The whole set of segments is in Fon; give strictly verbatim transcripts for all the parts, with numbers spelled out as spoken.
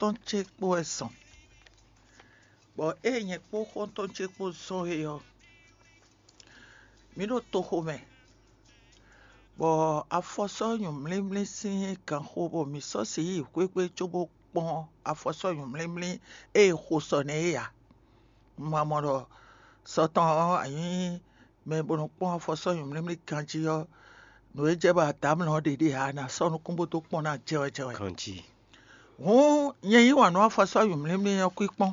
xɔ́ntɔn ce kpó wɛ zɔn, bɔ ée nyɛ kpó xɔ́ntɔn ce kpó zɔn é ɔ́, mǐ ɖo toxo mɛ, bɔ afɔsɔ́ nyɔ̌mlímlí sín ganxo bɔ mǐ sɔ́ si yi xwéxwé cóbó kpɔ́n afɔsɔ́ nyɔ̌mlímlí e è xo sɔ nɛ́ é ǎ. Un ma mɔ ɖɔ sɔ tɔn ɔ́, a nyǐ mɛ e bo nɔ kpɔ́n afɔsɔ́ nyɔ̌mlímlí ganjí ɔ́, nǔ e jɛ bɔ adǎmlɔ ɔ́ ɖe ɖe ǎ, a nǎ sɔ́ nukún bó dó kpɔ́n ná jɛwɛ jɛwɛ. Ganjí. Hǔn nyɛ yí wǎn nú afɔsɔ́ nyɔ̌mlímlí ɔ́ kwín kpɔ́n.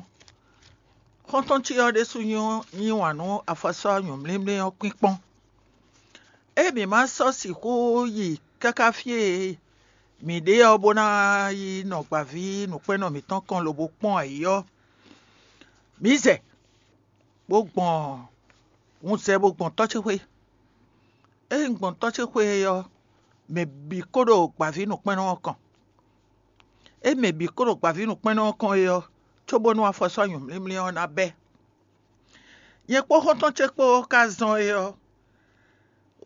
Xɔ́ntɔn ce ɔ́ ɖésú nyí wǎn nú afɔsɔ́ nyɔ̌mlímlí ɔ́ kwín kpɔ́n. Ée mǐ ma sɔ́ sixú yi káká fí e mǐ ɖe ɔ́, bó ná yi nɔ gbǎví nǔkpɛ́nnɔ mǐtɔn kɔn lobo kpɔ́n ayǐ ɔ́, mǐ zɛ, bó gbɔn, un zɛ bó gbɔn tɔ́ ce xwé. Ée un gbɔn tɔ́ ce xwé é ɔ́, mɛ bǐ kó ɖo gbǎví nǔkpɛ́nnɔ ɔ́ kɔn. Ée mɛ bǐ kó ɖo gbǎví nǔkpɛ́nnɔ ɔ́ kɔn é ɔ́, cóbónú afɔsɔ́ nyɔ̌mlímlí ɔ́ ná bɛ́. Nyɛ kpó xɔ́ntɔn ce kpó ka zɔn é ɔ́,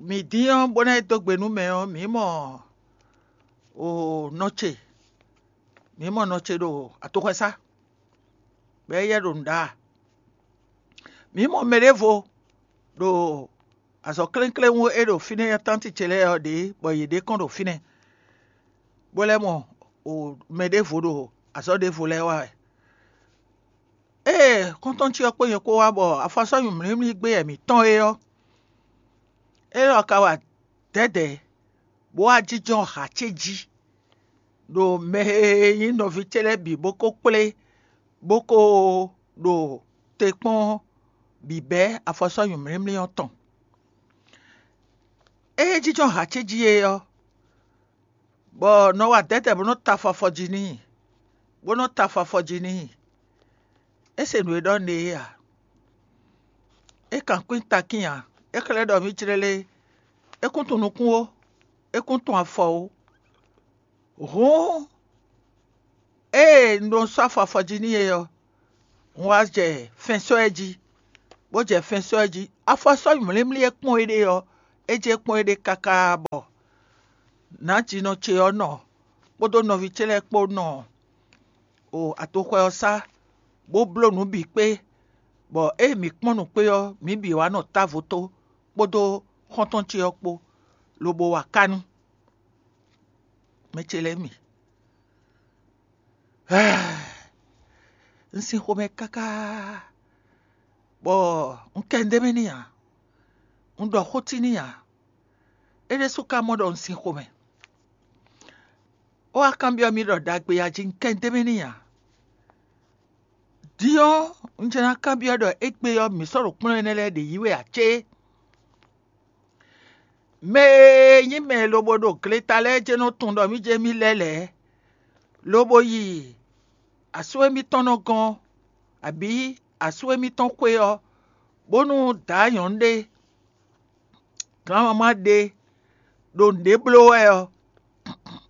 mǐ dín ɔ́, bó ná yi dó gbe nú mɛ ɔ́, mǐ mɔ o nɔ ce, mǐ mɔ nɔ ce ɖo atoxɔ́sá, bɔ éyɛ́ ɖo nǔ ɖa. Mǐ mɔ mɛ ɖěvo ɖo azɔ̌ klénkléwún e ɖo fínɛ́ tánti ce lɛ́ɛ ɔ́ ɖě, bɔ yě ɖe kɔn ɖo fínɛ́, bó lɛ́ mɔ o mɛ ɖěvo ɖo azɔ̌ ɖěvo lɛ́ɛ wa wɛ. Ée xɔ́ntɔn ce ɔ́ kpó nyɛ kpó wá bɔ afɔsɔ́ nyɔ̌mlímlí gbé yɛ mǐtɔn é ɔ́, é lɔ ka wa dɛ̌dɛ̌, bó wá jínjɔ́n hǎ ce jí, ɖo mɛ e nyí nɔví ce lɛ́ɛ bǐ bó ko kplé, bó ko ɖo te kpɔ́n bǐbɛ́ afɔsɔ́ nyɔ̌mlímlí ɔ́ tɔn. Ée é jínjɔ́n hǎ ce jí é ɔ́, bɔ nɔ wa dɛ̌dɛ̌ bó nɔ́ ta afɔ afɔ jí n'i, bó nɔ́ ta afɔ afɔ jí n'i. É se nǔ e ɖɔ nú é ǎ. É kan kwín takín ǎ. É xlɛ́ ɖɔ mǐ jlɛ́ lé, é kún tunwun nukún ó, é kún tunwun afɔ ó. Hǔn ée un ɖo sɔ́ afɔ afɔ jí n'i é ɔ́, un wá jɛ fɛn sɔ́ ɛ jí, bó jɛ fɛn sɔ́ ɛ jí. Afɔ sɔ́ mlímlí e kpɔ́n éɖée ɔ́, é jɛ kpɔ́n éɖée káká bɔ nǎjínɔ ce ɔ́ nɔ kpódó nɔví ce lɛ́ɛ kpó nɔ o atoxwɛ ɔ́ sá, bó bló nǔ bǐ kpé, bɔ ée mǐ kpɔ́n nǔ kpé ɔ́, mǐ bǐ wá nɔ távo tó kpódó xɔ́ntɔn ce ɔ́ kpó, lobo wa ká nú mɛ ce lɛ́ɛ mi. Un sin xomɛ káká, bɔ un kɛ ndémɛ n'i ǎ, un ɖɔ xó tí n'i ǎ. É ɖésú ka mɔ ɖɔ un sin xomɛ. É wá kanbyɔ́ mì ɖɔ ɖagbe a jí un kɛ ndémɛ n'i ǎ. Din ɔ́, un jɛ ná kanbyɔ́ ɖɔ égbé ɔ́, mǐ sɔ́ ɖo kplɔ́n énɛ́ lɛ́ɛ ɖě yí wɛ ǎ cé? Mɛ e nyí mɛ e lobo ɖo gleta lɛ́ɛ jɛ́n nɔ tunwun ɖɔ mì jɛ mì lɛ́ lɛ̌, lobo yi asú émítɔn nɔ gɔ́n, abǐ asú émítɔn xwé ɔ́, bónú dǎ nyɔ̌nu ɖé, gǎnmamá ɖé, ɖo nǔɖé bló wɛ ɔ́,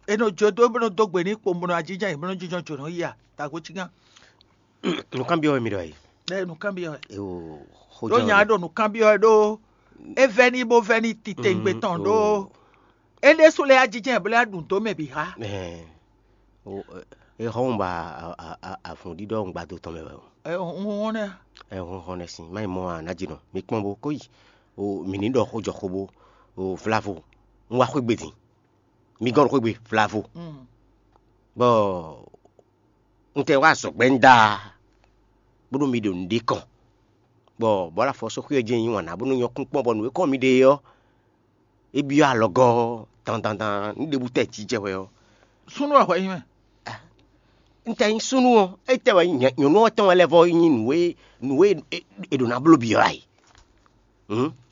è nɔ jó dó bó nɔ dó gbe n'i kpowun bó nɔ ajínjɔ́n ayǐ bó nɔ jínjɔ́n jǒnɔ yi a? Tago cígán. Nǔkanbyɔ́ wɛ mi ɖɔ e? Ɛ nǔkanbyɔ́ wɛ. Eo, xó ɖó jɛ́n nya wɛ. Ɖo nǔkanbyɔ́ wɛ ɖó é vɛ́ n'i bó vɛ́ n'i titewungbe tɔn ɖó é ɖésú lɛ́ɛ ajínjɔ́n ayǐ bó lɛ́ ɖu dó mɛ bǐ xá. Ɛ, o, ɛ, é xɔ́n ba avǔn ɖíɖɔ ŋgbado tɔn mɛ wɛ o. Ɛ hɔn hɔn nɛ. Ɛ hɔn hɔn nɛ sin má yi mɔ a nǎ jǐ nɔ mi kpɔ́n bó kó yi. O mǐ ní ɖɔ xó jɔ xó bó, o vlavo, un wá xwé gbe din. Mi gɔ́n ɖo xwé gbe vlavo. Bɔ un tɛ wá azɔ̌gbɛ́ ń da, bónú mi ɖo nǔɖé kɔn, bɔ bɔ̌ afɔ sɔ́ xwé ɔ́ jɛ́n nyi wǎn ná bónú nyɔ́ kún kpɔ́n bɔ nǔ e kɔn mi ɖe é ɔ́, é byɔ́ alɔgɔ́ dandandan ní ɖěbǔ tɛ jijɛ wɛ ɔ́. Súnnu wɛ hwɛ nyi mɛ. Un tɛ nyí súnnu ɔ́, é tɛ wɛ nyɔ̌nu ɔ́ tɔn wɛ lɛ́ vɔ nyí nǔ e nǔ e è ɖǒ ná bló byɔ́ ǎ é.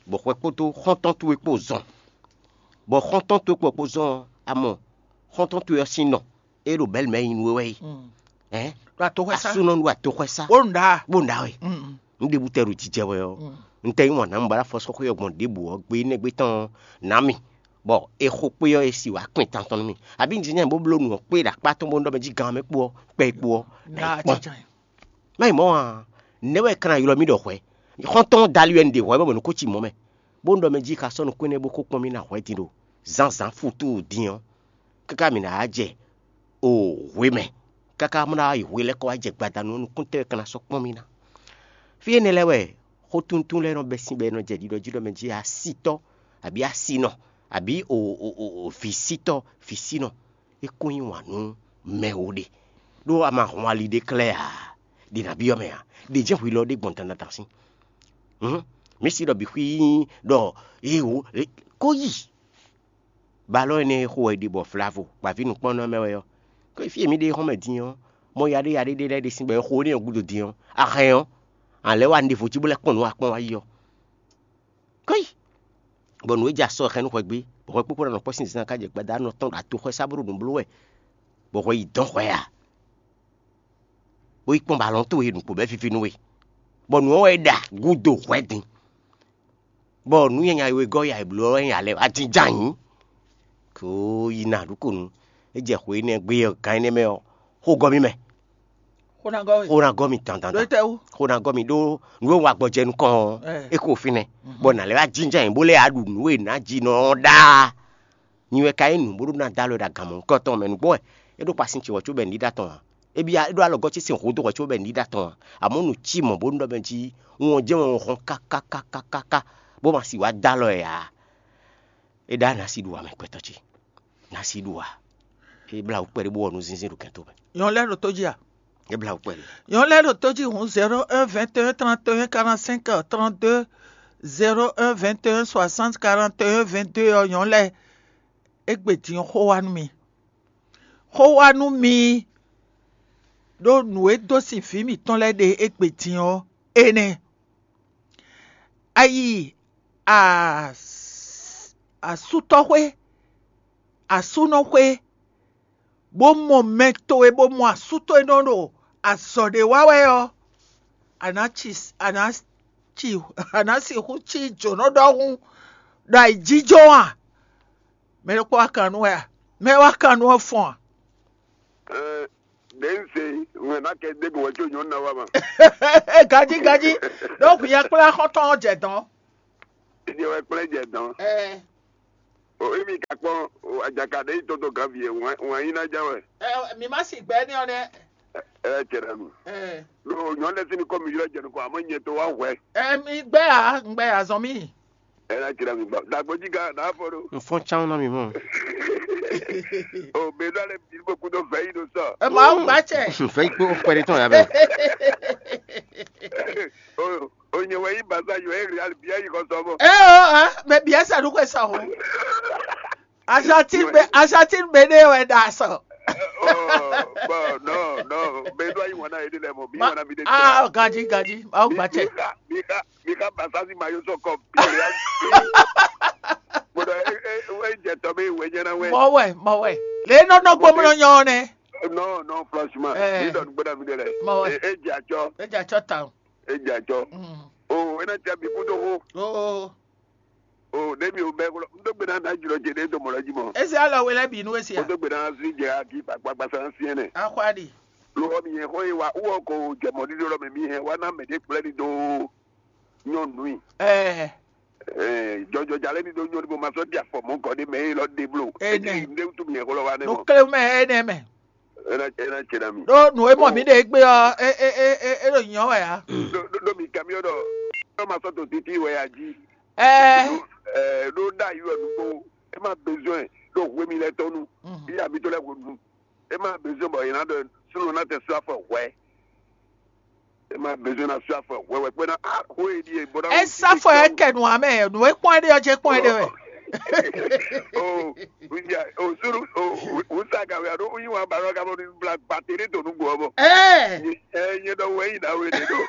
Bɔ xwɛ kpódó xɔ́ntɔn towe kpó zɔn, bɔ xɔ́ntɔn towe kpó kpó zɔn ɔ́, a mɔ xɔ́ntɔn towe ɔ́ sín nɔ, é ɖo bɛ̌lu mɛ nyi nú we wɛ é. Ɛ̌? Ɖo atoxwɛsá. Asúnɔ ɖo atoxwɛsá. Bó nǔ ɖa. Bó nǔ ɖa wɛ. Un ɖe bútɛ ɖo jijɛ wɛ ɔ́, un tɛ yí wǎn ná un ba ná fɔ sɔ́ xwé ɔ́ gbɔn ɖěbǔ ɔ́ gbe énɛ́ gbe tɔn ná mì, bɔ è xo kpé ɔ́ è si wǎ kpɛn tantɔn nú mì. Abǐ un jínjɔ́n bó bló nǔ ɔ́ kpé ɖo akpá tɔn bónú ɖɔ mɛ jí gan mɛ kpó ɔ́, kpɛ kpó ɔ́, nǎ yi kpɔ́n. Má yi mɔ̌ ǎ, nɛ̌ wɛ è ka ná ylɔ́ mì ɖɔ hwɛ̌? Xɔ́ntɔn Dali wɛ un ɖe hwɛ̌ bɔ mɔ̌ nú kó cí mɔ̌ mɛ, bónú ɖɔ mɛ jí ka sɔ́ nukún énɛ́ bó kó kpɔ́n mì ná hwɛ̌ din ɖo zǎnzǎn futu din ɔ́, káká mǐ ná wá jɛ o hwe mɛ, káká mɔ ná yi hwe lɛ́ɛ kɔ wá jɛ gbadanu ɔ́, nukúntɔ́ e ka ná sɔ́ kpɔ́n mì ná. Fí énɛ́ lɛ́ɛ wɛ xó túntún lɛ́ɛ nɔ bɛ́ sín bɔ è nɔ jɛ ɖiɖɔ jí ɖɔ mɛ jí asítɔ́, abǐ asínɔ, abǐ vǐsítɔ́, vǐsínɔ, é kún yí wǎn nú mɛ wo ɖe, ɖó a ma hun ali ɖé klɛ́ ǎ, ɖě ná byɔ́ mɛ ǎ, ɖě jɛ́n hwi lɔ ɖé gbɔn dandan sín. Hǔn, mǐ si ɖɔ bǐ xwí nyí ɖɔ é wǒ kó yi. Balɔ́ énɛ́ e xo wɛ è ɖe bɔ vlavo gbǎví nǔkpɔ́nnɔ mɛ wɛ ɔ́, kó fí e mǐ ɖe xɔ́n mɛ din ɔ́, mɔ yaɖé yaɖé ɖé lɛ́ɛ ɖe sín bɔ è xo énɛ́ ɔ́ gúdo din ɔ́, a hɛn ɔ́, a lɛ̌ wá nǔɖévo jí bó lɛ́ kpɔ́n nǔ wa kpɔ́n wá yi ɔ́. Kɔ́yi, bɔ nǔ e jɛ asɔ xɛn nú hwɛ gbé, bɔ hwɛ kpókpó ná nɔ kpɔ́ sín zán ká jɛ gbada nɔ tɔn ɖo atoxwɛ sá bó ɖo nǔ bló wɛ, bɔ hwɛ yi dɔn hwɛ a? Bó yi kpɔ́n bɔ alɔ̌n towe nǔgbó bɛ́ víví nú we, bɔ nǔ ɔ́ wɛ é ɖa gúdo hwɛ din, bɔ nǔ nyanya e wegɔ́ ya è blǒ ɔ́ wɛ nyí alɛ wá jínjɔ́n ayǐ. Kó yi ná ɖu ko nu. É jɛ xwe énɛ́ gbe ɔ́, gan énɛ́ mɛ ɔ́, xó gɔ́ mì mɛ. Xó ná gɔ́ we. Xó ná gɔ́ mì dandan. Ɖó tɛ́ wú? Xó ná gɔ́ mì ɖó nǔ e un wa gbɔjɛ nukɔn ɔ́, é ko fínɛ́, bɔ nǎ lɛ́ wá jínjɔ́n ayǐ bó lɛ́ yá ɖu nǔ e nǎ ji nɔ ɔ́ ɖaa. Nyi wɛ ka nyí nǔ bó ɖó ná dó alɔ ɖo agan mɔ̌hunkɔtɔn mɛ nǔgbó wɛ é ɖó kpa sin ce wɛ có bɔ è ní ɖa tɔn ǎ. É byɔ́ é ɖó alɔgɔ́ ce sín hǔn dó hwɛ có bɔ è ní ɖa tɔn ǎ. Amɔ̌ nǔ cí mɔ̌ bónú ɖɔ mɛ jí wun ɔ́ jɛ́n wɛ un hɔn kákákákáká bó ma si wá dó alɔ ɛ ǎ. É ɖá ná si ɖu wǎ mɛ gbɛtɔ́ ce. Ná si ɖu wǎ. É blá wǔ kpɛɖé bó wɔ nú zínzín ɖo kɛn tomɛ. Nyɔ̌nu lɛ́ɛ ɖo tó jí a? É blá wǔ kpɛɖé. Nyɔ̌nu lɛ́ɛ ɖo tó jí hǔn zéro un vingt et un trente et un quarante-cinq trente-deux, zéro un vingt et un soixante quarante et un vingt-deux ɔ́, nyɔ̌nu lɛ́ɛ, égbé din ɔ́ xó wá nú mi. Xó wá nú mi ɖó nǔ e dó sin vǐ mǐtɔn lɛ́ɛ ɖe égbé din ɔ́, énɛ́. A yi as- asútɔ́xwé, asúnɔxwé, bó mɔ mɛ towe, bó mɔ asú towe nɔ ɖo azɔ̌ ɖé wa wɛ ɔ́, a nǎ ci a nǎ ci a nǎ sixú cí jǒnɔ ɖɔhun ɖo ayǐjínjɔ́n a? Mɛ ɖokpó wá kan nú wɛ a? Mɛ wá kan nú ɔ́ fɔ́n a? Ɖě un se wɛn ná kɛ dé gbɔn wɛ có nyɔ̌nu ná wá ma. Ganjí ganjí, ɖó hwi yɛ kplá xɔ́ntɔn ɔ́ jɛ dɔ̌n. Ìdí wɛ kplɛ́ jɛ dɔ̌n. Ɛ, O emi ka kpɔ́n, o ajaka ɖe yi tɔn dó ganví e wǎn wǎn yí ná ján wɛ. Ɛ, mi má sì gbɛ énɛ́ ɔ́ nɛ́. Ɛ ɛ cɛ ɖa nu. Ɛ, Ɖo nyɔ̌nu lɛ́ɛ sín nukɔn mi ylɔ́ jɛ nukɔn, amɔ̌ nyɛ tó wá hwɛ. Ɛ, mi gbɛ a, un gbɛ azɔn mi. Ɛ ná cɛ ɖa mi gbɔ. Dagbo jí ga ná fɔ ɖo. Un fɔ́n cán ná mi mɔ. O bɛ dɔ lɛ bi bɔ kudo vɛ yi do sɔ. Ɛ, Mawu gbá cɛ. Vɛ yi kpó kpɛɖé tɔn ya bɛ. O o nyɛ wɛ yi baza yɔ e real bia yi kɔ sɔ bɔ. Ɛ o, ɛ, mɛ bia sa ɖu xwe sɔ ho. Argentine be Argentine be ne wɛ da sɔ. Oh, bon, non, non. Bɛ do ayi wana ede lɛ mɔ. Mi Ma- wana mi de. Ah, gaji gaji. Aw gbatsɛ. Mi ka mi ka mi ka basasi ma yo sɔ kɔ. Bia. Bɔdɔ e e e jɛ tɔ bɛ wɛ nyɛ na wɛ. Mɔ wɛ, mɔ wɛ. Le nɔ nɔ gbɔmɔ nyɔ nɛ. Non, non, franchement. Eh. Mi dɔn gbɛdɔ mi de lɛ. Mɔ wɛ. E e jɛ atsɔ. E jɛ atsɔ tan. E jɛ atsɔ. Mm. O e na jɛ mi kudo ho. Oh. O ɖe mi o bɛ kolo. N dó gbe na na jùlɔ jɛ ɖe to mɔ lɔ jí mɔ. Esi alɔ wele bi nu esi O a. Dó gbe na si jɛ aki kpakpa sa si ɛnɛ. Akwadi. Lo mi yẹn xɔ ye wa wọ ko jɛ mɔ ɖiɖo lɔ mɛ mi hɛn wa na mɛ ɖe kplɛ ni do nyɔnu yi. Ɛɛ. Ɛɛ jɔjɔ jalɛ ni do nyɔnu bɔ ma sɔ di afɔ mɔ gɔ de mɛ ye lɔ de blo. Ɛnɛ. Edi ne wutu mi yẹn xɔ lɔ wa ne mɔ. Nukle mɛ ɛnɛ mɛ. Ena ena cɛ na mi. Ɖo nǔ e mɔ mǐ ɖe gbé ɔ́, é é é é é ɖo nyɔ̌ wɛ ǎ. Ɖo ɖo ɖo mi kamiɔ ɖɔ ɖɔ ma sɔ to titi wɛ ya ji. Ɛɛ. Ɖo ɛɛ ɖo ɖa yi wɛ nugbo. E ma besoin ɖo hwe mi lɛ tɔnu. Mhm. Iya mi to lɛ hwe nu. E ma besoin bɔ yina ɖɔ sunu na tɛ su afɔ hwɛ. E ma besoin na su afɔ hwɛ wɛ kpɛ na a hwe e ɖi e bɔ na. Esa fɔ yɛ kɛ nu amɛ nu e kpɔn ɖe ɔjɛ kpɔn ɖe wɛ. O o suru o o sa ka wɛ a ɖo yin wa ba ɖɔ ka bɔ ni bla gba tere to nugbo ɔbɔ. Ɛɛ. Ɛ nyɛ ɖɔ wɛ yi na we de ɖo.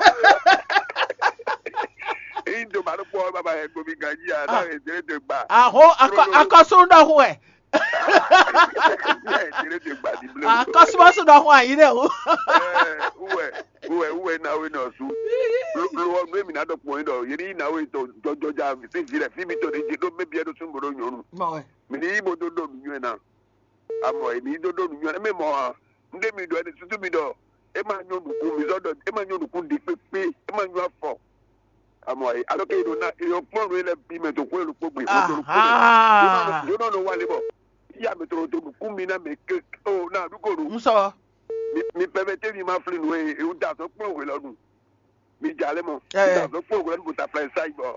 Eyi do ma ɖo kpɔ baba yɛ gbomi ganji a na yɛ tere de gba. Aho akɔ akɔsu ɖɔhun wɛ. Yɛ tere de gba di ble. Akɔsu ma su ɖɔhun ayi ɖe o. Ɛ uwɛ uwɛ uwɛ na we nɔ su. Lo lo ɔ nu emi na dɔ kpɔn yi dɔ yeri na we tɔ jɔjɔja fi fi lɛ fi mi tɔ de je do mɛ biɛ do sun bo do nyɔnu. Mɔ wɛ. Mi ni yi bo do do nu nyɔɛ na. Amɔ emi do do nu nyɔɛ na mɛ mɔ ha. N de mi dɔ ɛni susu mi dɔ. E ma nyɔ nukun mi zɔ dɔ e ma nyɔ nukun di kpekpe e ma nyɔ afɔ. Amɔ ayi alɔ ke yi do na yi kpɔn nu yi lɛ bi mɛ to kwe lo kpogbe. Aha. Yonɔ nɔ wa le bɔ. Iya mɛ tɔrɔ to nukun mi na mɛ ke o na du ko nu. N sɔ. Mi pɛmɛ té mi ma flin nǔ e un da azɔ̌ kplɔ́n hwelɔ́nu. Mi ja lɛ́ mɔ. Mi da azɔ̌ kplɔ́n hwelɔ́nu bó ta flɛ sa yi bɔ.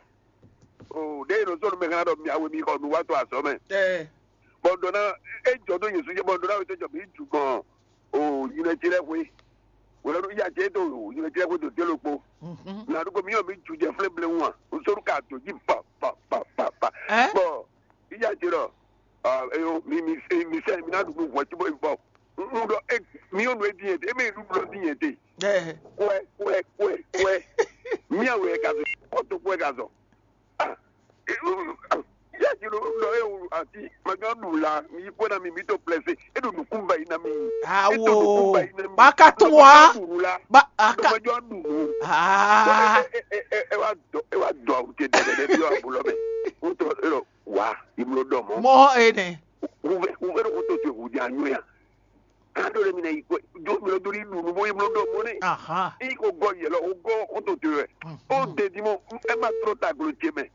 O ɖe e nɔ sɔ́ nú mɛ hɛn ɖɔ mi awe mi xɔ nǔ wá to azɔ̌ mɛ. Bɔ ɖɔ ná e jɔ dó Jezu jɛ bɔ ɖɔ ná wetɔ jɔ mi ju gbɔn o yinɛ ce lɛ hwe. Wòlɔ ɖo ya ce do yinɛ ce lɛ hwe do dé lokpo. Na ɖo ko mi yɔ mi ju jɛ flɛ ble ŋu a? O sɔ́ ɖo ka do jí pa pa pa pa pa. Bɔ iya ce ɖɔ eyo mi mi mi sɛ mi na ɖu nú hwɛ cóbɔ yi fɔ. Un ɖɔ e mi yɔ nú e dín yɛn te, e mɛ yi ɖu ɖɔ dín yɛn te. Kwɛ kwɛ kwɛ kwɛ. Mi awe ka zɔ, kɔtɔ kwɛ ka zɔ. Ah, ya ji ɖo ɖɔ e wu ati ma gán ɖu la mi yi kpɔ́ na mi mi to plɛsɛ e ɖo nukún ba yi na mi. Awo ba ka tún wa ba a ka ɖu nu. Ah, e wa dɔ e wa dɔ awu te dɛdɛ bi wa bulɔ mɛ. O tɔ e lɔ wa imlo dɔ mɔ. Mɔ ene. Wuvɛ wuvɛ ɖo ko to te wu di anyo ya. An ɖo ɖe mi na yi kwe do mi lɔ do ɖi ɖu nu bo yi mlɔ ɖɔ mɔ nɛ. Aha. I ko gɔ yɛlɛ o gɔ o to te wɛ. O de di mɔ e ma trɔ ta glo ce mɛ.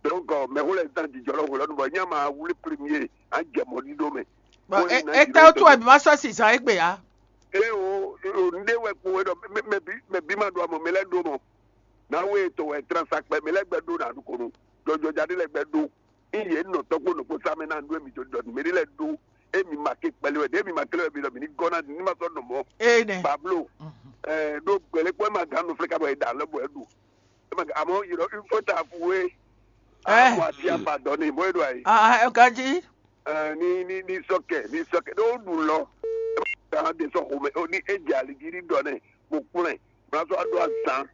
Donc mɛ ko lɛ dan jijɔ lɔ hwelɔ nu bɔ nya ma wuli premier an jɛ mɔ ɖi ɖo mɛ. Bon, e e tɛ o tu wɛ mi ma sɔ si zan egbe ya. E o o n de wɛ kpo wɛ dɔ mɛ bi mɛ bi ma do amɔ mɛ lɛ do mɔ. Na we to wɛ transa kpɛ mɛ lɛ gbɛ do na du konu. Jɔjɔ ja de lɛ gbɛ do. Iye nɔ tɔgbo nɔ kpo sa mɛ na nu emi to dɔ nu mɛ de lɛ do. Emi ma ke kpɛlɛ wɛ de emi ma kele wɛ mi dɔ mi ni gɔ na ni ma sɔ nɔ mɔ. Ene. Pablo. Ɛ do gbɛlɛ kpɔ ema gan nu flɛ ka bɔ eda lɛ bɔ edu. Ema gan amɔ yi dɔ ifo ta fu we. Ɛ. Amɔ ati apa dɔ ne mɔ edo ayi. Ah, ɛ ganji. Ɛ ni ni ni sɔkɛ ni sɔkɛ do du lɔ. Ema gan de sɔ xomɛ o ni e jɛ ali di ni dɔ ne mo kplɛ. Mlazɔ ado azan.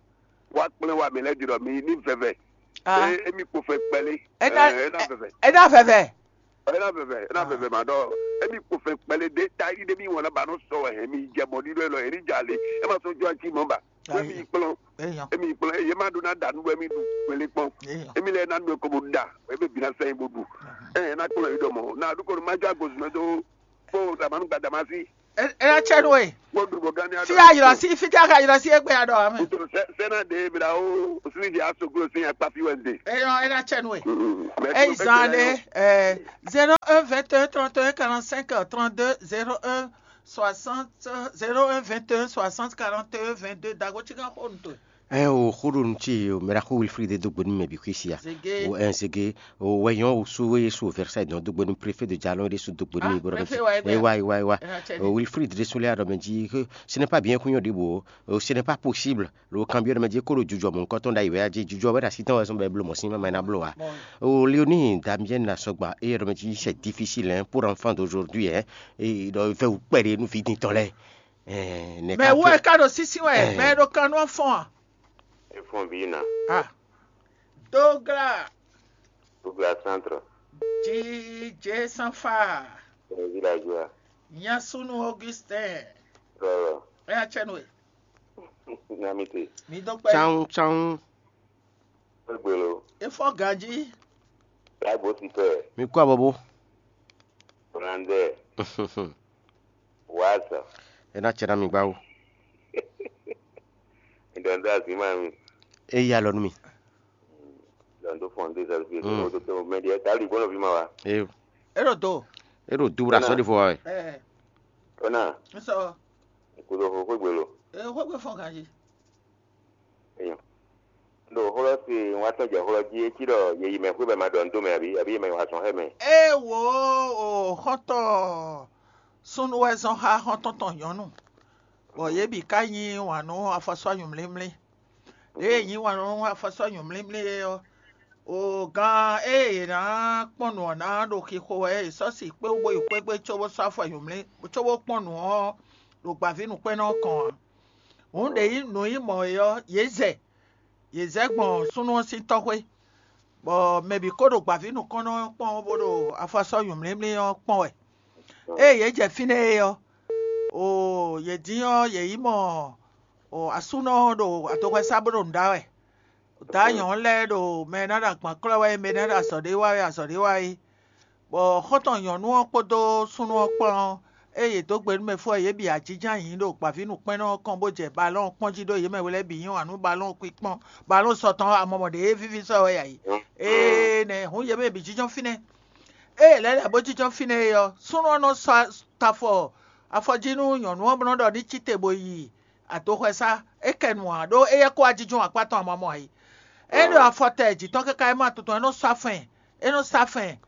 Wa kplɛ wa mi lɛ di dɔ mi ni vɛvɛ. Ah. E emi kpo fɛ kpɛlɛ. Ena Ɛ, ena vɛvɛ. Ena vɛvɛ. Ena vɛvɛ ena vɛvɛ ma dɔ. Emi kpo fɛ kpɛlɛ de ta yi de mi wɔn na ba nɔ sɔ wɛ hɛn mi jɛ mɔ ni dɔ lɔ eri ja le. E ma sɔ jɔ ati mɔ ba. Wɛ mi kplɔn. Eyan. Emi kplɔn eye ma do na da nu wɛ mi du gbele kpɔn. Eyan. Emi lɛ na nu ko bo da. Ebe bi na sɛn bo du. Ɛ na kplɔn yi dɔ mɔ. Na du ko ma jɔ agbozumɛ do. Kpo damanu gba damasi. Ena cɛ nu e. Kpo du bo gani ado. Fi ayɔrɔ si fi tɛ ka yɔrɔ si egbe adɔ ame. Kutu sɛ sɛna de bi da o. Sini di aso klo sin akpa fi wɛ de. Eyan ena cɛ nu e. Eyi zan de. Ɛ zéro un vingt et un trente et un quarante-cinq trente-deux zéro un soixante zéro un vingt et un soixante quarante et un vingt-deux dago ci kan xo nu to. Ɛ o xo ɖo nu ce o mɛ ɖaxó Wilfried dó gbe nú mɛ bǐ xwísi a. Zege. O ɛ zege o wɛ nyɔ o sú e sú Versailles dɔn dó gbe nú préfet de Jalon ɖé sú dó gbe nú Ah, ibo ɖɔ mɛ préfet wa jí egbe. Ewa ewa ewa. Ena cɛ o ni. Wilfried ɖé sú lé aɖɔ mɛ jí que ce n'est pas bien kúnyɔ ɖé bo o ce n'est pas possible lo kan byɔ ɖɔ mɛ jí kó ɖo jujɔ mɔ̌ nukɔntɔn ɖ'ayǐ wɛ a jí jujɔ wɛ ɖo asi tɔn wɛ zɔn bɛ bló mɔ̌ sín mɛ ná bló a. Bon. O Léonie Damienne Asɔgba eye ɖɔ mɛ jí c'est difficile hein pour enfant d'aujourd'hui hein. E ɖɔ vɛwu kpɛɖe nú vidin tɔn lɛ. Ɛ ne mɛ ka wo tó ɛ ka ɖo sísí wɛ Ɛ. Mɛ ɖo kan nú afɔn a. Efɔn vǐ ná. Ah. Dogla Douglas Centre, Djidje Sanfa, Villageois, Nyasunu Augustin, Rɔrɔ, Ɛ atsɛnu e. Namite, Mi do kpɛ. Tsan tsan. Egbelo, Efɔ ganji. Lagbo Sipɛ, Mi kú abɔbó. Holandais, Waza. Ena cɛ na mi gbawo. Ndɔndɔ azima mi. Eyi alɔ nu mi. Lɔndo fɔn de zɛlu fi Mm. o to to mɛ diɛ ta li gbɔnɔ fi ma wa. Eyo. Eɖo do. Eɖo du bra Ona. Sɔ de fɔ wa. Ɛ. Ona. Nsɔ. Kudo fo fo gbelo. E xɔ gbɛ fɔn ganji. Eyo. Ndo xɔlɔ si wa tɔn jɛ xɔlɔ ji e ci ɖɔ ye yi mɛ xwe bɛ ma ɖɔ ndo mɛ abi abi mɛ wa sɔn xɛ mɛ. E wo o xɔtɔ sunu wɛ zɔn xa xɔtɔn tɔn nyɔnu. Bɔ ye bi ka nyi wǎn nú afɔsɔ nyumlímlí. Ɖěe nyí wǎn nú afɔsɔ́ nyɔ̌mlímlí é ɔ́, o gán e è nǎ kpɔ́n nǔ ɔ́ ná ɖo xixo wɛ è sɔ́ si kpé wú bó yi xwé gbe cóbó sɔ́ afɔ nyɔ̌mlí cóbó kpɔ́n nǔ ɔ́ ɖo gbǎvínǔkpɛ́nnɔ ɔ́ kɔn ǎ. Hǔn ɖě nyí nǔ nyí mɔ̌ é ɔ́, yě zɛ, yě zɛ gbɔn súnnu ɔ́ sín tɔ́xwé, bɔ mɛ bǐ kó ɖo gbǎvínǔkpɛ́nnɔ ɔ́ kpɔ́n bó ɖo afɔsɔ́ nyɔ̌mlímlí ɔ́ kpɔ́n wɛ. Ée yě jɛ fínɛ́ é ɔ́, oo, yě dín ɔ́, yě yi mɔ oo, asúnɔ ɔ́ ɖo adoxɔsá bó ɖo nǔ ɖa wɛ. Dǎ nyɔ̌nu lɛ́ɛ ɖo mɛ e ná ɖo agban klɔ́ wɛ é, mɛ e ná ɖo azɔ̌ ɖé wa wɛ, azɔ̌ ɖé wa é. Bɔ xɔ́ntɔn nyɔ̌nu ɔ́ kpódó súnnu ɔ́ kpán ɔ́, ée yě dó gbe nú mɛ fó ɔ́, yě bǐ ajínjɔ́n ayǐ ɖo gbǎvínǔkpɛ́nnɔ ɔ́ kɔn bó jɛ balɔ́n ɔ́ kpɔ́n jí ɖó yě mɛ we lɛ́ɛ bǐ nyí wǎn nú balɔ́n ɔ́ kpíkpɔ́n, balɔ́n sɔ tɔn ɔ́, amɔmɔ ɖě e víví sɔ wɛ yǎ yi. Énɛ́ hǔn yě mɛ bǐ jínjɔ́n fínɛ́. Ée lɛ̌ lɛ̌ bó jínjɔ́n fínɛ́ é ɔ́, súnnu ɔ́ nɔ sɔ́ tafɔ Afɔ jí nú nyɔ̌nu ɔ́ bó nɔ́ ɖɔ ní cí te bó yi adoxɔsá, é kɛ nu ǎ, ɖó éyɛ́ kó wá jínjɔ́n akpá tɔn amamɔ ǎ é. É ɖo afɔ tɛ jǐ tɔn káká é ma tɔn tɔn, é nɔ sɔ́ afɛn, é nɔ sɔ́ afɛn,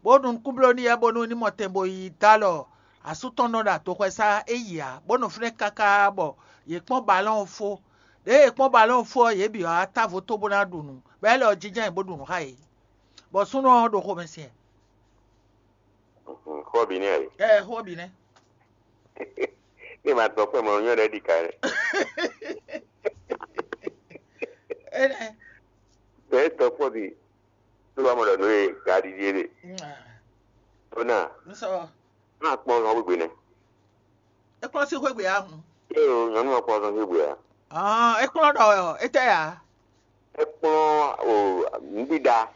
bó ɖu nukúnbló n'i yɛ bónú ní mɔ tɛn bó yi dó alɔ asú tɔn nɔ ɖo adoxɔsá é yi ǎ, bó nɔ fínɛ́ káká bɔ yě kpɔ́n balɔ́n ɔ́ fó. Ɖěe yě kpɔ́n balɔ́n ɔ́ fó ɔ́, yě bǐ wá távo tó bó ná ɖu nǔ, bɔ é lɛ ɔ́ jínjɔ́n ayǐ bó ɖu nǔ xá yě, bɔ súnnu ɔ́ ɖo xomɛ sin ɛ. Xó bǐ nɛ́ ǎ é. Ɛ xó bǐ nɛ́. Ní ma tɔ kpɛ́n mɔ nyɔ́ ɖɛ́ ɖi ka ɛ. Énɛ́. Bɛ̌ tɔ kpɔ́n bǐ. Tó wá mɔ ɖɔ nǔ e ka ɖiɖi é ɖe. Ó ná N sɔ. Má kpɔ́n zɔn gbígbé nɛ́. É kplɔ́n sín xwé gbe ǎ hun. Éyo nyɔ̌nu ɔ́ kpɔ́n zɔn gbígbé ǎ. Ɔn é kplɔ́n ɖɔ ɔ́, é tɛ ǎ. É kplɔ́n o nǔɖiɖa.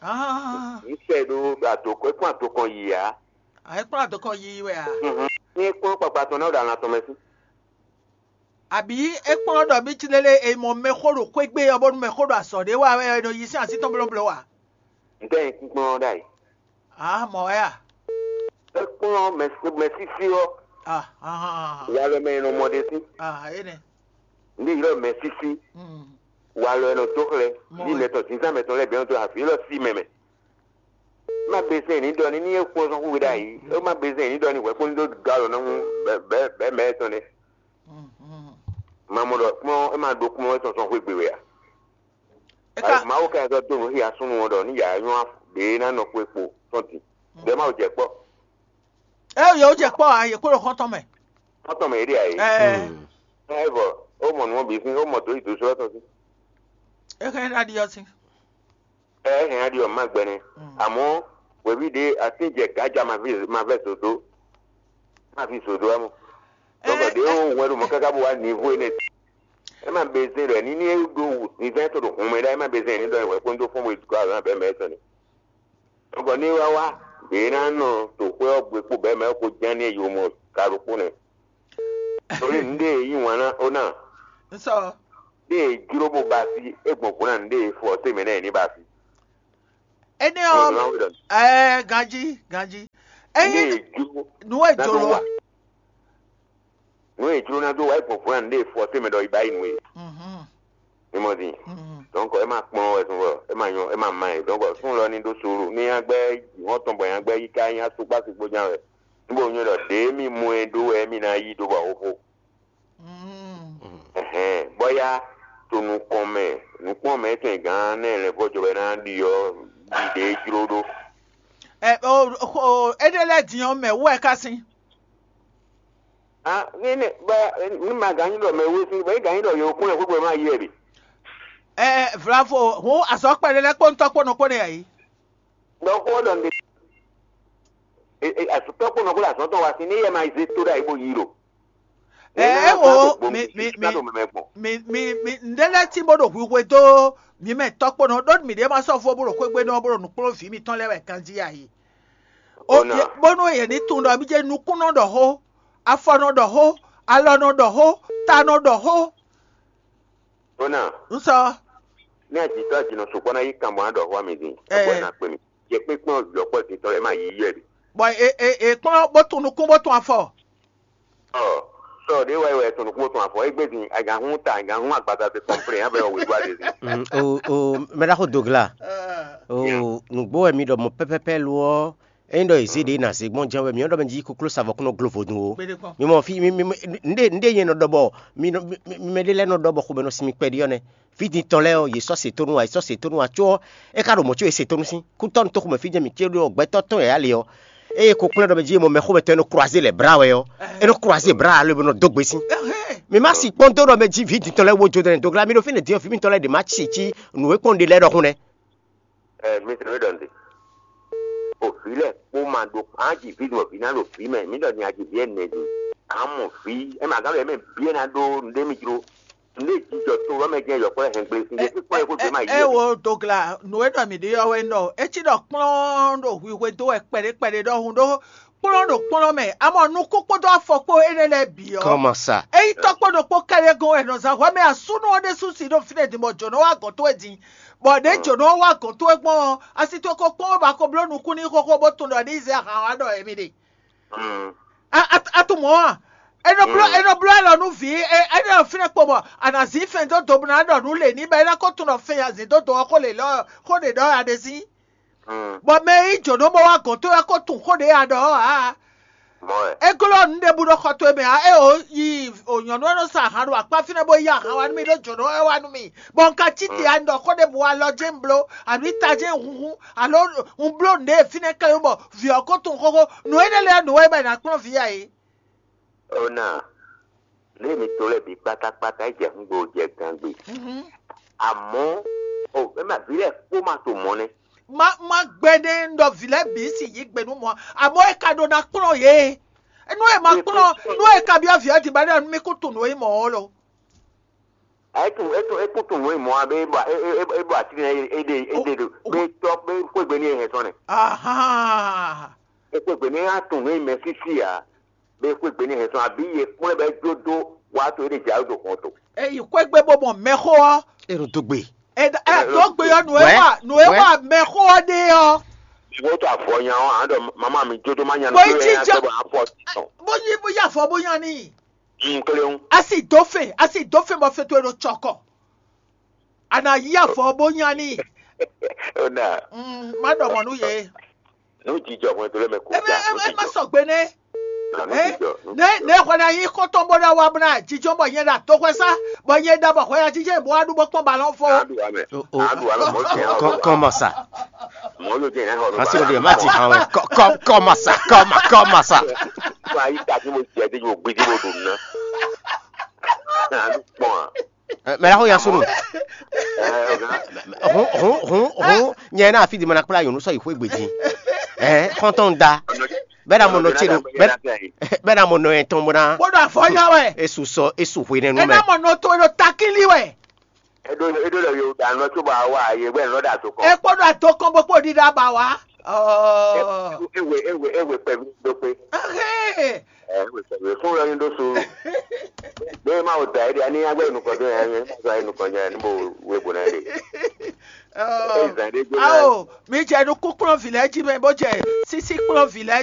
Ɔn Ní sɛ ɖó ato é kplɔ́n ato kɔn yi ǎ. é kplɔ́n adokɔ yiyi wɛ ǎ. Ní é kplɔ́n kpakpa tɔn ná ɖo alan tɔn mɛ sí. Àbí é kplɔ́n ɖɔ mí cí lélé è mɔ mɛxó ɖo xwé gbe ɔ́ bónú mɛxó ɖo azɔ̌ ɖé wa wɛ è nɔ yi sín así tɔn blóbló a? Ntɛ́ nyí kúnkplɔ́n ɖ'ayǐ. A mɔ wɛ a? É kplɔ́n mɛsísí ɔ́, Ah, ah, ah, walɔ mɛ e nɔ mɔ ɖe sí. ah, énɛ́. Ndé ylɔ́ mɛsísí, Mm. walɔ e nɔ dó xlɛ́, Mɔ ní wɛ. Mɛtɔn zǐnzán mɛtɔn lɛ́ɛ bǐ nɔ dó afi élɔ́ sí mɛ mɛ. Má bezɛn ní ɖɔ ní ní é kpɔ́n zɔn xúwe ɖ'ayǐ. É má bezɛn ní ɖɔ ní hwɛ̌kpɔ́n ní dó gǎ lɔ ná mú bɛ̌ bɛ̌ mɛ tɔn nɛ́. Mm, mm. Ma mɔ ɖɔ kplɔ́n é ma ɖó kplɔ́n é tɔn zɔn xwé gbe wɛ a? É ka Mawu ka zɔ dó nǔ xia súnnu ɔ́ ɖɔ ní yǎ nyɔ́ ɖě ná nɔ xwe kpo tɔn din. Ɖě Mawu jɛ kpɔ́. é yɛ wó jɛ kpɔ́ a yě kó ɖo xɔ́ntɔn mɛ. Xɔ́ntɔn mɛ é ɖe ǎ é. Ɛ Ɛ vɔ, ó mɔ nǔ ɔ́ bǐ sín, ó mɔ dǒ yi dǒ slɔ́ tɔn sín. é hɛn ɖa ɖi ɔ́ sín. Ɛ hɛn aɖi ɔ́ má gbɛnɛ. Àmọ́ hweví ɖě atín jɛ gǎja ma vɛ zǒdó. Má fi zǒdó amɔ. Dɔnku ɖě ó hwɛ́n ɖo mɔ̌ káká bó wá nivo énɛ́. É má bezɛn ɖɔ ní ní é ɖó nivɛ́ tɔn ɖo hun mɛ ɖá, é má bezɛn ní ɖɔ hwɛ kpódó fɔ́n bó yi dukɔ azɔn abɛ mɛ tɔn ni. Dɔnku ní wá wá, ɖě ná nɔ to xwé ɔ́ gbe kpó bɛ̌ mɛ kó ján ní yo mɔ ka ɖokpó nɛ. Torí nǔɖé e yí wǎn ná ó ná, N sɔ. Ɖé e jló bó ba sí, é gbɔn gǔ ná nǔɖé e fɔ tɛ́ mɛ nɛ́ ní ba sí. Énɛ́ Ɔ́ ɔ́, ná wí ɖɔ ɛɛ ganjí ganjí. Ndé Ényí e jló nǔ e ná jló ɖó wa. Nǔ e jló ná dó wa é gbɔn gǔ ná nǔɖé e fɔ tɛ́ mɛ ɖɔ yi ba yi nǔ e. Mhm, Mi mɔ din. mhm. Donc é ma kplɔ́n wɛ sún vɔ, é ma nyɔ, é ma ma ɛ. Donc sún lɔ ní ɖó sùúrù. Ní nyagbɛ hɔn tɔn bɔ nyagbɛ yi ká nyí asúkpá sukpó ján wɛ. Níbo nyɔ ɖɔ ɖě mi mɔ ɛ ɖó wɛ mi ná yí ɖó bɔ xóxó. Mm. Ɛhɛn, bɔya to nukɔn mɛ, nukpɔn mɛ tɔn gán nɛ lɛ vɔ jɔ bɛ ná ɖi ɔ, ɖi ɖě jló ɖó. Ɛ o o éɖé lɛ́ɛ din ɔ́ mɛ wú ɛ ká sín. Ah, ní ní bá ní ma gán nyí ɖɔ mɛ wé sí, bɔ é gán nyí ɖɔ yě kún lɛ xwé ma yí ɛ ɖe. Ɛ vlavo hǔn azɔ̌ kpɛɖé lɛ́ɛ kpó ŋutɔ́ kpó nɔ kpó nɛ yǎ yí. Ɖɔ xó ɖɔ nde. Asutɔ kpó nɔ kó le azɔn tɔn wá sí ní yɛ ma zé tó ɖe ayi bó yí ɖo. Ɛ é wo mi mi mi Ká ɖo mɛmɛ gbɔn. mi mi mi ŋɖé lɛ́ɛ tín bó ɖo hwihwe dó mi mɛ tɔ́ kpó nɔ ɖó mi ɖě ma sɔ́ fó bó ɖo xwé gbe nɔ bó ɖo nǔkplɔ́nví mitɔn lɛ́ɛ wɛ ganjí ayi. O Ona. ye bónú yě ní tunwun ɖɔ mí jẹ́ nukúnnɔ ɖɔ xó, afɔnɔ ɖɔ xó, alɔnɔ ɖɔ xó, tanɔ ɖɔ xó. Ona. N sɔ Ní àjítọ́ àjìnà sùpọ́ náà yí kan bọ̀ á ɖɔ xó àmì dín. Ẹ. Ẹ̀kọ́ ẹ̀ náà pè mí. Jẹ pé kpọ́n yọ̀pọ̀ dín tọ́ ẹ̀ máa yí yẹ̀ rí. Bɔ e e e kplɔ́n bó tun nukún bó tun afɔ. Ɔ sɔ ɖé wáyé wáyé tɔn nukún tɔn afɔ égbé dín agahun ta agahun agbada ti kɔnplɛn abɛ wɔ wíwá ɖe dín. Mm, o o mɛɖaxo dogla o nǔgbó wɛ mi ɖɔ mɔ pɛpɛpɛ lo ɔ eyin ɖɔ ezé ɖe na zé gbɔn jɛn wɛ mi ɖɔ mɛ jí koklo savɔ kúnɔ glo vodun o. Gbede kpɔn. Mi mɔ fi mi mi mi- nɖe nɖe yẹn nɔ ɖɔ bɔ mi nɔ mi mi- mi mɛ ɖe lɛ nɔ ɖɔ bɔ xomɛ nɔ sinmi kpɛɖi ɔ nɛ. Fidintɔ lɛ ɔ yě sɔ setonu wa yě sɔ setonu wa tso ɔ é ka ɖo mɔ̌ có yě setonu sín kútɔ́ nutɔ́ xomɛ fí jɛ́n mǐ cé ɖo gbɛtɔ́ tɔn yǎ le ɔ eye ko kplɔ́n ɖɔ mɛ jí e mɔ mɛxó mɛtɔn e nɔ croiser lɛ bra wɛ ɔ é nɔ croiser bra alo e nɔ dó gbe sín. Ɛhɛn. Mi ma si kpɔ́n dó ɖɔ mɛ jí vǐ dintɔ lɛ́ɛ wó jó dɛnɛ dogla mi ɖo fínɛ́ din ɔ́ vǐ mitɔn lɛ́ɛ ɖě ma ci cí nǔ e kpɔ́n ɖe lɛ́ɛ ɖɔhun nɛ́. Ɛ mi tɛn mi ɖɔ nde. O vi lɛ kpó ma ɖo aji vi ɖo vi ná ɖo vi mɛ mi ɖɔ ni aji vi ɛnɛ ɖi. Amɔ vi ɛ ma gán ɖo ɛmɛ vi ɛ ná ɖó nɖé mi jló. Nɖé jijɔ to wɛ mɛ jɛ yɔkpɔ hɛn gble sin ɖe kpíkpɔn yɛ kó gbé ma yi. Ɛ wo dogla nù e ɖɔ mǐ ɖe ɔ́ wɛ nɔ etí ɖɔ kplɔ́n ɖo hwihwe dó wɛ kpɛɖé kpɛɖé ɖɔhun ɖó kplɔ́n ɖo kplɔ́n mɛ amɔ nukún kpódó afɔ kpó énɛ́ lɛ́ɛ bǐ ɔ́. Comment ça? Eyi tɔ́ kpó ɖokpó kɛɖé gɔ́n wɛ nɔ zán hwɛ mɛ asúnú ɔ́ ɖésú si ɖo fínɛ́ din bɔ jǒnɔ wá gɔ̌n towe din bɔ ɖě jǒnɔ wá gɔ̌n towe gbɔn ɔ́ asi towe ko kpɔ́n bó ba ko bló nukún n'i xóxó bó tunwun ɖɔ ní zɛ ahan wá ɖɔ émí ɖe. Mm. A- a- a- Mɔ̌ a? É nɔ bló é nɔ bló alɔ nú vǐ é é nɔ fínɛ́ kpo bɔ a nǎ zín fɛn dó do bó ná ɖɔ nǔ lě ní bɔ é ná ko tunwun ɖɔ fɛn azǐn dó do ɔ́ xó lě lɔ xó ɖě ɖɔ a ɖe sín. Bɔ mɛ e nyí jǒnɔ bó wá gɔ̌n towe ɔ́ ko tunwun xó ɖě a ɖɔ ɔ́ ǎ. É glɔ́ nǔ ɖěbǔ ɖo xɔ towe mɛ ǎ, é o yi o nyɔ̌nu e nɔ sa ahan ɖo akpá fínɛ́ bó yí ahan wá nú mì ɖó jǒnɔ ɔ́ wá nú mì, bɔ un ka cí te ǎ, un ɖɔ xó ɖěbǔ alɔ jɛ́n un bló, alo ta jɛ́n un hunhun, alo un bló nǔɖé e fínɛ́ kɛ́ bɔ vǐ ɔ́ ko tunwun xóxó. Nǔ énɛ́ lɛ́ɛ nǔ wɛ é bɔ è nǎ kplɔ́n vǐ ǎ é. Ona, nǔ e mi to lɛ́ɛ bǐ kpátákpátá é jɛ húngbe jɛ gangbe. Amɔ̌, o é ma vǐ lɛ́ɛ kpó ma to mɔ̌ nɛ́. Má má gbɛ́ nɛ́ un ɖɔ vǐ lɛ́ɛ bǐ sin yí gbe nú mɔ̌, amɔ̌ é ka ɖó ná kplɔ́n yě. Nú è ma kplɔ́n nú è ka byɔ́ vǐ ɔ́ din ba ɖɔ nú mì kún tunwun nǔ e mɔ̌ ɔ́ lo. É tún é tún é kún tunwun nǔ e mɔ̌ ɔ́ bé é bɔ é é é bɔ atín ɛ é ɖe é ɖe ɖo bé tɔ́ bé xwé gbe n'i é hɛn sɔ́ nɛ́. Ahán. É xwé gbe n'i é ná tunwun nǔ e mɛ sísí ǎ. Bé xwé gbe n'i hɛn sɔ́ abǐ yě kplɔ́n bɔ é jó dó wá to é ɖe jǎwe ɖo hɔn to. Eyi xwé gbe bó mɔ mɛxó ɔ́. É ɖo dó gbe. Ɛ ɛ dó gbe ɔ́ nǔ e wa nǔ e wa mɛxó ɔ́ ɖe ɔ́. Mi wó to avɔ nya ɔ́, a ɖɔ mama mi jó dó má nya nú Bó yi kí jíjɔ. Bó afɔ tɔn. Bó yí bó yá avɔ bó nya n'i. Un kléwún. Asi dó fɛn asi dó fɛn bɔ fɛn towe ɖo tsɔkɔ. A nǎ yí avɔ bó nya n'i. Ó nà. Mm, má ɖɔ mɔ̌ nú yě. Nú jijɔ hwɛndo lɛ́ɛ mɛ kó Eme ja. Eme eme sɔgbe nɛ. Nú Ɛ jijɔ. Ne ne hwɛ na yí xɔtɔn bó ɖa wa bó na jijɔ bɔ nyɛ ɖa toxwɛ sá bɔ nyɛ ɖa bɔ hwɛ ya jijɛ bó wa ɖu bó kpɔn balɔn fɔ. Adu amɛ. Oh, oh. Adu amɛ mɔ jɛ. Kɔ- kɔmɔ sa. Mɔ yóò jẹ yẹn hɔ. Asi o de ma ti hàn wẹ. Kɔ- kɔ- kɔmɔ sa kɔmɔ kɔmɔ sa. Wa yi ta kí mo jẹ de mo gbé de mo dùn ná. Adu kpɔn a. Mɛ la xo ya sunu. Ɛ ɔgá. Hun hun hun hun. Nyɛ na afi di ma na kpla yonu sɔ yi xwe gbeji. Ɛ xɔntɔn da. Bɛ na mo nɔ tse do. Bɛ bɛ na mo nɔ yɛn tɔn mo na. Bó ɖo afɔ nya wɛ. Esu sɔ esu hwe nɛ nu Ena mɛ. Mɔ nɔ to ɖo takili wɛ. Eɖo eɖo le yo ɖa nɔ tso ba wa ye gbɛ nɔ ɖa to kɔ. Ekpɔ ɖo ato kɔn bó kpó ɖiɖa ba wa. Ɔɔ. Ewe ewe ewe pɛvi ɖo kpe. Ɛhɛn. Ɛ ewe pɛvi fún lɔ ni ɖo so. Ɖé ma o da yi ɖi ani agbɛ nukɔ do yɛ ma zɔ ayi nukɔ jɛ ni bo we bo na yi ɖe. Ɔɔ. Eyi zan ɖe gbé na. Awo, mi jɛ nukún kplɔ́n vǐ lɛ́ɛ jí mɛ bó jɛ sísí kplɔ́n vǐ lɛ́ɛ